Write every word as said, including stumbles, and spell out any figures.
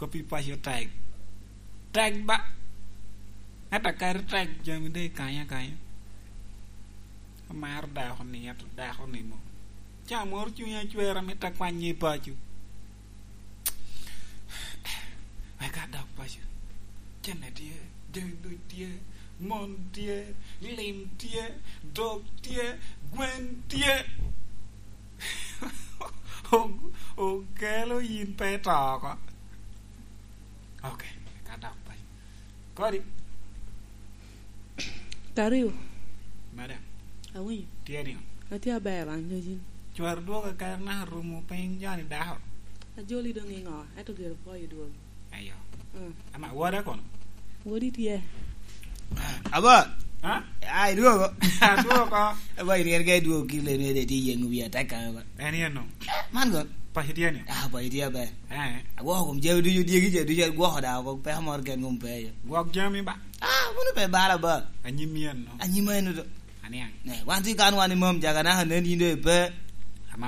Kop i paco tek. Tek ba. Ento kadi tek, jami doŋ i kanya kanya. Amaro dako ni, ento dako ni mo. Ca moro cunya cwer, amito akwanye i paco. Wek adok paco. Cene tye, jami duc tye, mon tye, lim tye, dog tye, gwen tye. O-, okelo yin pe ito oko. Ok, wek adok paco. Kodi? Kario. Madam. Awinyo. Tye niŋo? Atye aber, an nyacin. Cwar dwogo kare naka rumo piny joni dako. Ajoli doŋ i ŋo? Ento gire pwoyo dwogo. Ayo. Mm. Ama woda kono? Wodi tye. Aba. Ha? Ai, dwogo. Dwogo ko. Aba, iryerga i dwogo kile ni de tye yeŋo wiya tek kame ba. En yen no. Man go. Paco tye ni? Ah, paco tye aber. Eh. Agwoko kom jami ducu, dyegi ca ducu agwoko da oko, peko moro gen kom pe iye. Gwok jami ba. Ah, mano pe bala ba. Anyim yen no. Anyim eno do. Aniang. Ne, wan tye kan wan i mom, jaga naka nen yin do ipe.